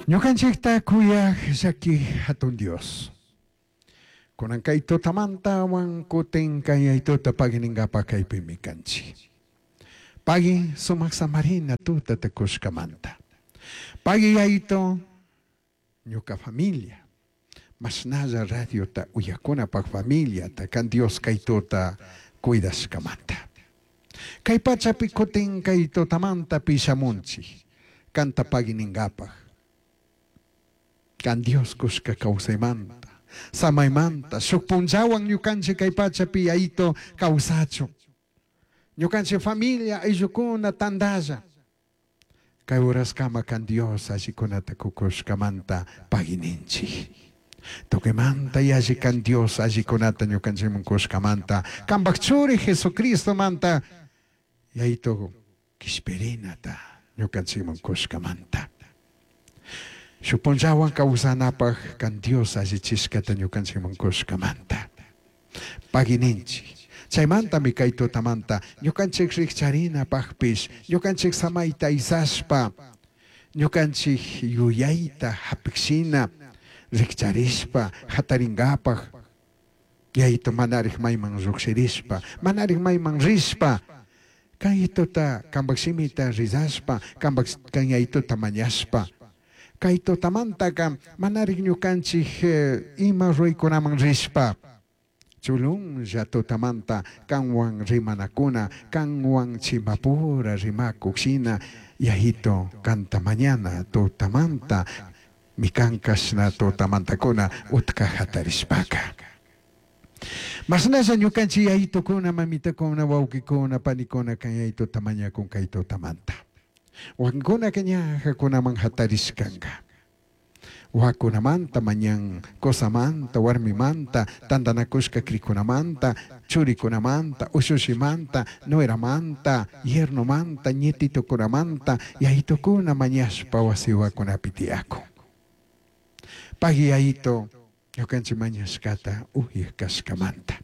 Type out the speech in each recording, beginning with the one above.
Ñukanchikta kuyaj llaki hatun Dios. Kunan kay tutamantawan kutin kay tuta pagui ninkapa kaypimi kanchik. Pagui sumak samarina tutata kushkamanta. Pagui yayito ñuka familia. Mashnalla radiota uyakunapak familiata kan Dios kay tuta cuidashkamanta. Kay pachapi kutin kay tutamanta pishamunchik. Kanta pagui ninkapaj. Kan Dios kushka kawsaymanta, samaymanta, shuk punllawan ñukanchik kay pachapi yayito kawsachun. Ñukanchik familia ayllukuna tantalla. Kay uraskama kan Dios allikunata kukushkamanta pagui ninchik. Tukuymanta yalli kan Dios allikunata ñukanchikman kushkamanta, kanpak churi Jesucristomanta yayito kishpirinata ñukanchikman kushkamanta. Shuk punllawan kawsanapak kan Dios allichishkata ñukanchikman kushkamanta. Pagui ninchik. Chaymantami kay tutamanta ñukanchik rikcharinapakpish, ñukanchik samayta aysashpa, ñukanchik yuyayta hapikshina rikcharishpa hatarinkapak, yayito manarik mayman llukshirishpa, manarik mayman rishpa, kay tuta kanpak shimita rizashpa, kanpak kan yayituta mañashpa, kay tutamantaka manarik ñukanchik ima ruraykunaman rishpa, chulunlla tutamanta kanwan rimanakuna, kanwan chimbapura rimakuk shina yayito kanta mañana tutamanta mikankashna tutamantakuna utka hatarishpaka. Mashnalla ñukanchik yayitukuna, mamitakuna, wawkikuna, panikuna kan yayituta mañakun kay tutamanta. Wakinkunaka ñajakunaman hatarishkanka. Wakunamanta mañan, qosamanta, warmimanta, tantanakushka krikunamanta, churikunamanta, ushushimanta, nueramanta, yernomanta, ñetitukunamanta, yayitukuna mañashpa wasiwakunapi tiyakun. Pagui yayito ñukanchik mañashkata uyak kashkamanta.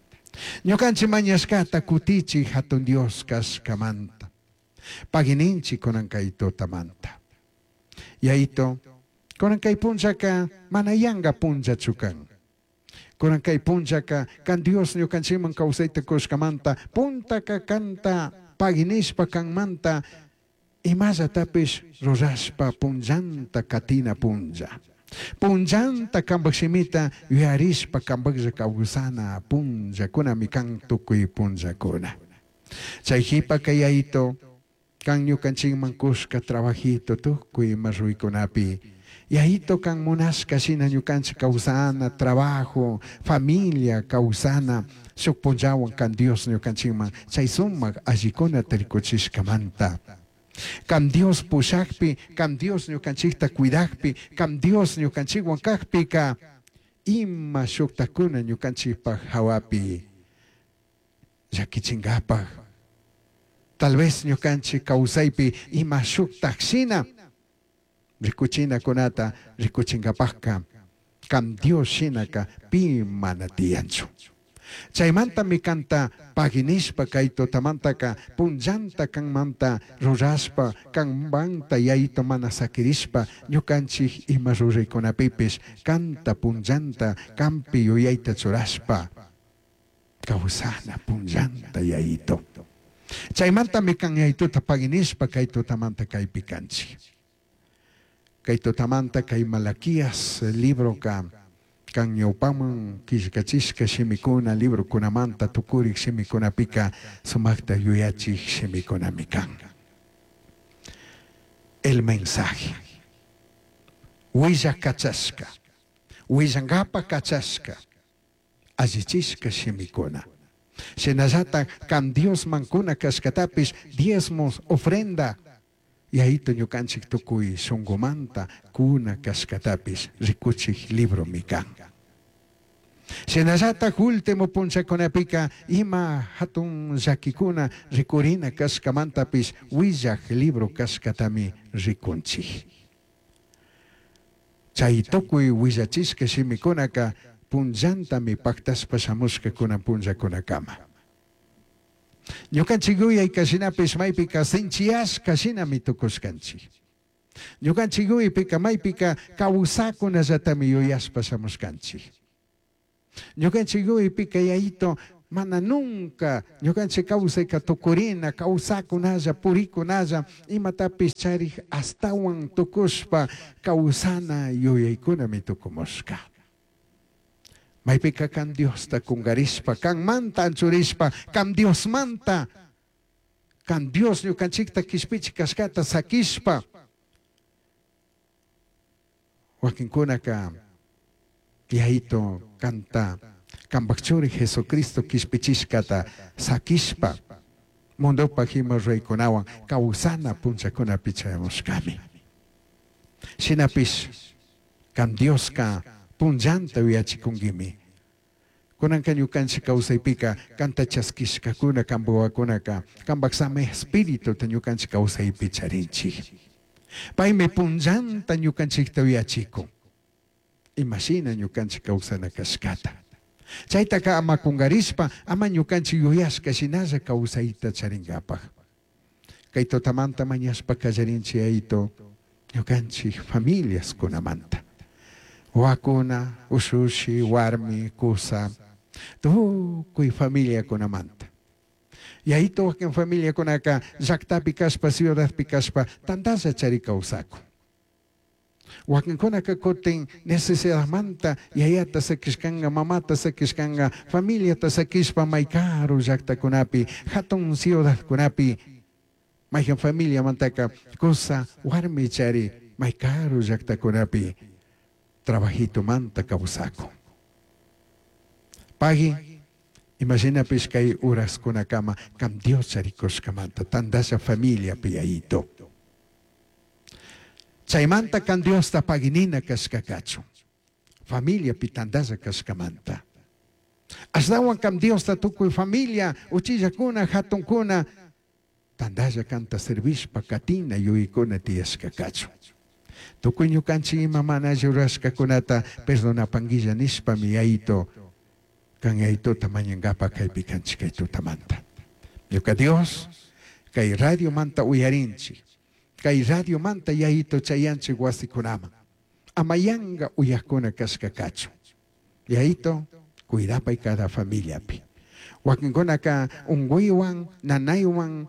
Ñukanchik mañashkata kutichik hatun Dios kashkamanta. Pagui ninchik kunan kay tutamanta. Yayito, kunan kay punllaka mana yanka punllachu kan. Kunan kay punllaka kan Dios ñukanchikman kawsayta kushkamanta puntaka kanta pagui nishpa kanmanta imallatapish rurashpa punllanta katina punlla. Punllanta kanpak shimita yuyarishpa kanpaklla kawsana punllakunami kan tukuy punllakuna. Chay qhipaka yayito kan ñukanchikman kushka trabajito tukuy ima ruykunapi yayito kan munashka shina ñukanchik kawsana trabajo, familia kawsana shuk punllawan kan Dios ñukanchikman chay sumak allikunata rikuchishkamanta. Kan Dios pushakpi, kan Dios ñukanchikta cuidakpi, kan Dios ñukanchikwan kakpika ima shuktakuna ñukanchikpak hawapi llakichinkapak. Tal vez ñukanchik kawsaypi ima shuktak shina rikuchinakunata rikuchinkapakka kan Dios shinaka pi mana tiyanchu. Chaymantami kanta pagui nishpa kay tutamantaka punllanta kanmanta rurashpa kanmanta yayito mana sakirishpa ñukanchik ima ruraykunapipish kanta punllanta kanpi yuyayta churashpa kawsana punllanta yayito. Chaymantami kan yayituta pagui nishpa kay tutamanta kaypi kanchik. Kay tutamanta kay Malaquías libroka kan ñawpaman killkachishka shimikuna librokunamanta tukurik shimikunapika sumakta yuyachik shimikunami kan. El mensaje. Willak kachashka, willankapa kachashka, allichishka shimikuna. Shinallatak kan Diosman kuna kashkatapish diezmos, ofrenda, yayito ñukanchik tukuy shunkumanta kuna kashkatapish rikuchik libromi kan. Shinallatak último punllakunapika ima hatun llakikuna rikurina kashkamantapish willak libro kashkatami rikunchik. Chay tukuy willachishka shimikunaka punllantami paktashpa shamushka kunan punllakunakama. Ñukanchik yuyayka shinapish maypika sinchiyashka shinami tukushkanchik. Ñukanchik yuyaypika maypika kawsakunallatami yuyashpa shamushkanchik. Ñukanchik yuyaypika Yayito mana nunca ñukanchik kawsayka tukurina, kawsakunalla, purikunalla, imatapish charik astawan tukushpa kawsana yuyaykunami tukumushka. Maypika kan Diosta kungarishpa, kanmanta anchurishpa, kan Diosmanta, kan Dios ñukanchikta kishpichik kashkata sakishpa, wakinkunaka Yayito kanta kanpak churi Jesucristo kishpichishkata sakishpa, mundopak ima ruraykunawan kawsana punllakunapi chayamushkami. Shinapish kan Dioska punllanta yuyachikunkimi. Kunanka ñukanchik kawsaypika kanta chaskishkakuna kanpak wawakunaka kanpak sami espirituta ñukanchik kawsaypi charinchik. Paymi punllanta ñukanchikta yuyachikun. Imashina ñukanchik kawsana kashkata. Chaytaka ama kungarishpa, ama ñukanchik yuyashka shinalla kawsayta charinkapak. Kay tutamanta mañashpa kallarinchik Yayito ñukanchik familiaskunamanta. Wawakuna, ushushi, warmi, kusa, tukuy familiakunamanta. Yayito wakin familiakunaka llaktapi kashpa, ciudadpi kashpa, tantalla chari kawsakun. Wakinkunaka kutin necesidadmanta yayata sakishkanka, mamata sakishkanka, familiata sakishpa may karu llaktakunapi, hatun ciudadkunapi, mayhan familiamantaka kusa warmi chari may karu llaktakunapi trabajitumanta kawsakun. Pagui, imashinapish kay horaskunakama kan Dios charikushkamanta tantalla familiapi Yayito. Chaymanta kan Diosta paginina kashkakachu. Familiapi tantalla kashkamanta. Ashtawan kan Diosta tukuy familia, uchillakuna, hatunkuna, tantalla kanta servishpa katina yuyaykuna tiyashkakachu. Tukuy ñukanchik ima mana alli rurashkakunata perdonapanguilla nishpami Yayito kan Yayituta mañankapak kaypi kanchik kay tutamanta. Ñuka Dios, kay radiomanta uyarinchik, kay radiomanta Yayito chayanchik wasikunaman. Ama yanka uyakuna kashkakachu. Yayito, cuidapay cada familiapi. Wakinkunaka unkuywan, nanaywan,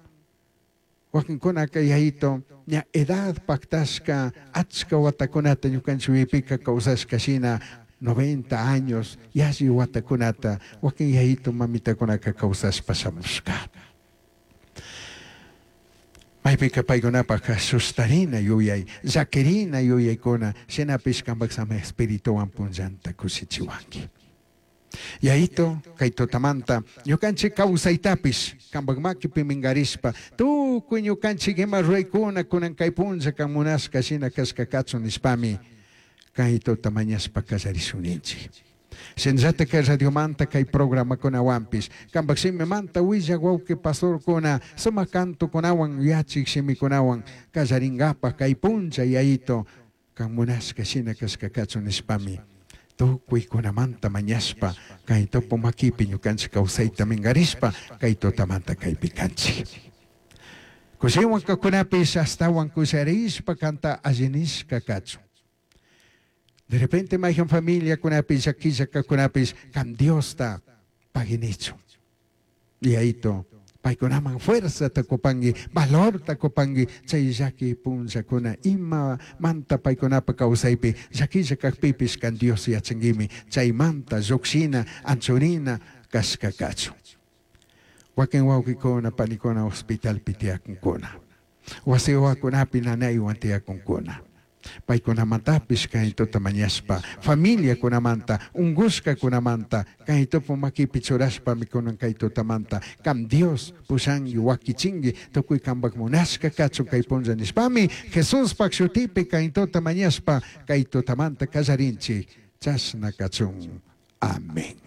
wakinkunaka Yayito, ña edad paktashka achka watakunata ñukanchik uypika kawsashka shina 90 años yalli watakunata wakin Yayito mamitakunaka kawsashpa shamushka. Maypika paykunapaka sustarina yuyay, llakirina yuyaykuna, shinapish kanpak sami espirituwan punllanta kushichiwanki. Yayito, kay tutamanta ñukanchik kawsaytapish kanpak makipi minkarishpa tukuy ñukanchik ima ruraykuna kunan kay punlla kan munashka shina kashkakachun nishpami kay tuta mañashpa kallarishun ninchik. Shinallata kay radiomanta kay programakunawanpish kanpak shimimanta willak wawqi pastorkuna sumak cantokunawan yachik shimikunawan kallarinkapak kay punlla Yayito kan munashka shina kashkakachun nishpami tukuykunamanta mañashpa kay tupu makipi ñukanchik kawsayta minkarishpa kay tutamanta kaypi kanchik. Kushiwan kakunapish astawan kusharishpa kanta allinishka kachun. De repente mayhan familiakunapish llakilla kakunapish kan Diosta paginichun. Yayito, paykunaman fuerzata kupanki, valorta kupanki, chay llaki punllakuna ima manta paykunapa kawsaypi llakilla kakpipish kan Dios yachankimi, chaymanta llukshina, anchurina kashka kachun. Wakin wawqikuna, panikuna hospitalpi tiyakunkuna. Wasi wawakunapi nanaywan tiyakunkuna. Paykunamantapish kay tuta mañashpa, familiakunamanta, unkushkakunamanta, kay tupu makipi churashpami kunan kay tutamanta, kam Dios pushanki, wakichinki, tukuy kanpak munashka kachun kay punlla nishpami, Jesuspak shutipi kay tuta mañashpa, kay tutamanta kallarinchik, chashna kachun. Amén.